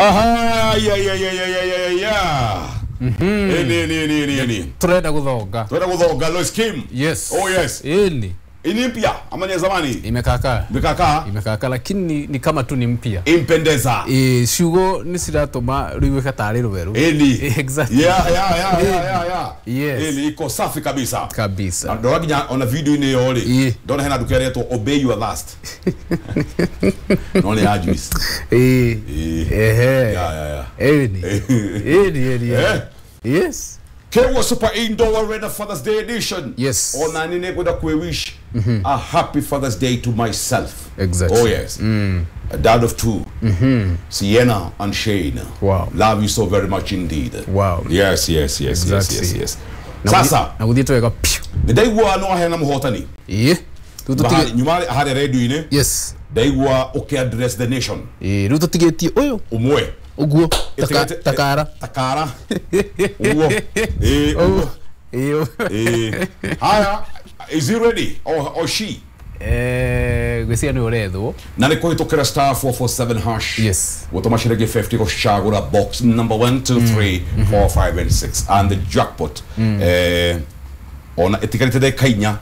Aha, yeah. Ni. Turenda guthonga. Turenda guthonga Lois Kim. Yes. Oh yes. Ini. Ini mpya ama ni ya zamani? Imekaka. Imekaka. Imekaka lakini ni kama tu ni mpya. Impendeza. Ciugo ni ciratuma ruigwika tari rweru. Ini. Exactly. Yeah. Yes. Ini iko safi kabisa. Kabisa. Ndora nginya ona video ini yori. Ndona hena nduka iretwo Obey Your Thirst. No ni ya juice. Ehe. Yeah. Ini. Ini. Yes. Kewa Super Indoor Arena Father's Day edition. Yes. Ona nini kwenda kwe wish a happy Father's Day to myself. Exactly. Oh yes. A dad of two. Sienna and Shane. Wow. Love you so very much indeed. Wow. Yes. Exactly. Yes. Sasa. Na guthie twega piu. Ndaigua no hena muhotani. Ye. Tututige nyuma hari radio ine. Yes. Ndaigua uki address the nation. Riu tutigetie uyu. Umwe. Uguo takara. Takara. Uguo. Uguo. Haya, is he ready or she? Gwĩciria nĩ ũrethwo. Na nĩ kũhĩtũkĩra star 447 hash. Yes. Gũtũma ciringi 50 gũcagũra box number 1 2 3 4 5 and 6 and the jackpot. Ona ĩtigarĩte ndagĩka inya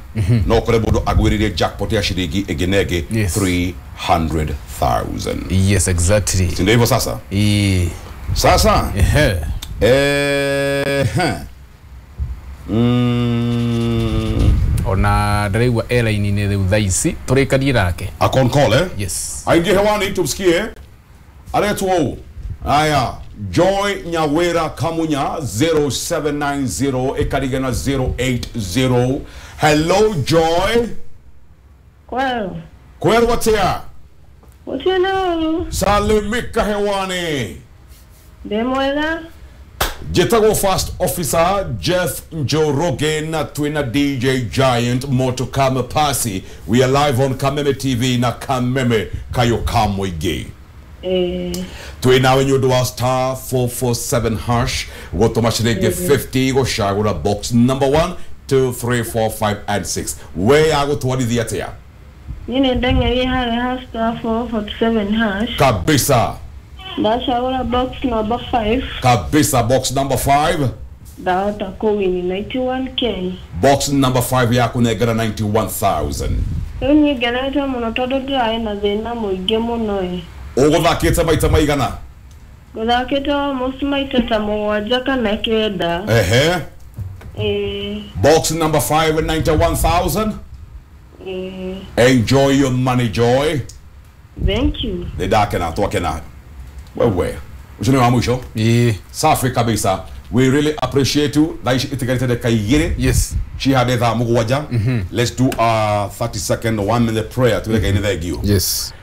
no ũkore mũndũ agwĩrĩrie jackpot ya ciringi ĩngĩ na ĩngĩ 300,000. Yes, exactly. Si ndio hivyo sasa? Sasa? Ona ndĩraigua airline-inĩ rĩu thaa ici tũrĩkanie nake. Akon call eh? Yes. Aingie hewani tumsikie. Aretwo ũũ. Aya, Joy Nyawera Kamunya 0790 ĩkarigana 080. Hello Joy. Kwero. Kwero atia? Otieno. Salimika hewani. Ndĩ mwega. Njĩtagwo First Officer Jeff Njoroge na twina DJ Giant Moto Kama Pasi. We are live on Kameme TV na Kameme Kayo Kamũingĩ. Twinawe nĩ ũndũ wa star 447 hash gũtũma ciringi 50 gũcagũra box number 1 2 3 4 5 and 6. We yagũtwarithia atĩa? Niĩ nĩ ndeng'erie harĩa ha star 447 hash. Kabisa. Ndacagũra box number 5. Kabisa, box number 5. Ndahota kũwini 91K. Box number 5 yakũnengera 91,000. Rĩu niĩ ngenete mũno tondũ ndĩrarĩ na thĩna mũingĩ mũno ĩ. Ũgũthakĩte maita maigana? Ngũthakĩte almost maita ta mũgwanja kana kenda. Ehe. Box number 5 91,000. Enjoy your money, Joy. Thank you. Nĩ ndakena twakena. Wewe. Ũcio nĩ wa mũico? Safi kabisa. We really appreciate you. Thaa ici itigarĩte ndagĩka igĩrĩ. Yes. Cihande thaa mũgwanja. Let's do a 30 second 1 minute prayer. Tuge Ngai nĩ thengiũ. Yes.